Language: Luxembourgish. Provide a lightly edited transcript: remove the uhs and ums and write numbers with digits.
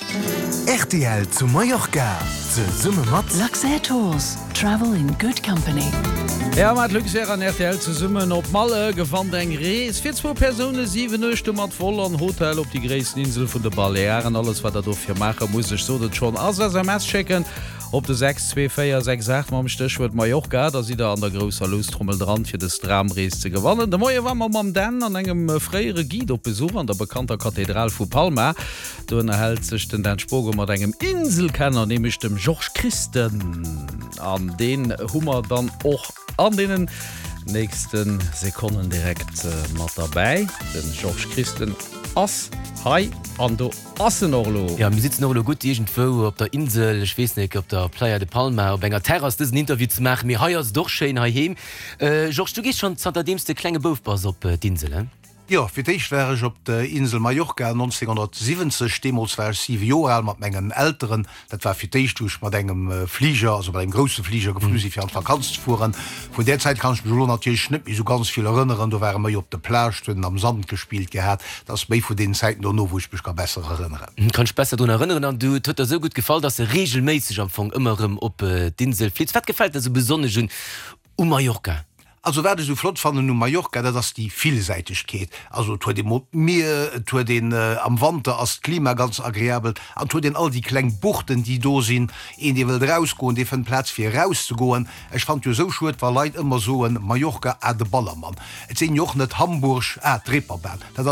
Rtl zu Mallorca zesumme mat. Luxair Tours, Travel in good company. Ja, mat Luxair an rtl zesummen op Malle gewannt eng Rees fir zwou Persoune, 7 Nuechte mat Vol an Hotel op déi gréissten Insel vun de Balearen. Alles wat der dofir maache musst, ech sot et schonn, ass SMS schécken op de 62468 mam Stéchwuert Mallorca. Da sidd der an der grousser Loustrommel dran fir dës Dramrees ze gewannen. De Moie war mer mam Dan an engem fréiere Guide op Besuch an der bekannter Kathedral vu Palma. Do ënnerhält sech den Dan Spogen mat engem Inselkenner, nämlech dem Georges Christen. An deen hu mer dann och an deenen nächste Sekonnen direkt mat derbäi. De Georges Christen ass hei an do ass en och elo. Jo, mir sitzen och elo gutt iergendwou op der Insel, ech weess nek, op der Playa de Palma, op enger Terrass dësen Interview ze maachen. Mee hei ass et och schéin heiheem. Georges, du gees schonn zanter deems de klenge Bouf bass op d'Insel, he? Jo, fir d'éischt war ech op der Insel Mallorca 1970. Deemools war ech 7 Joer al, mat mengen Elteren. Dat war fir d'éischt, wou ech mat engem Fliger, also mat engem grousse Fliger geflu sinn, fir an d'Vakanz ze fueren. Vun där Zäit kann ech mech elo natierlech net méi esou ganz vill erënneren. Do ware méi op de Plage, hunn am Sand gespillt gehat. Dat ass méi vun deenen Zäiten dono, wou ech mech ka besser erënneren. Kann ech besser drun erënneren. An du, et huet der esou gutt gefall, dass de reegelméisseg am Fong ëmmer erëm op d'Insel flitt. Wat gefält der esou besonnesch un u Mallorca? Also wat ech esou flott fannen u Mallorca, dat ass déi Villsäitegkeet. Also et huet ee mol d'Mier, et huet een, am Wanter ass d'Klima ganz agreabel an et huet een all déi kleng Buchten déi do sinn. Een dee wëllt erausgoen, dee fënnt Plaz fir erauszegoen. Ech fannt jo esou schued wa Leit ëmmer soen, Mallorca ah de Ballermann. Et sinn jo och net Hamburg ah d'Reeperbahn. Dat ass.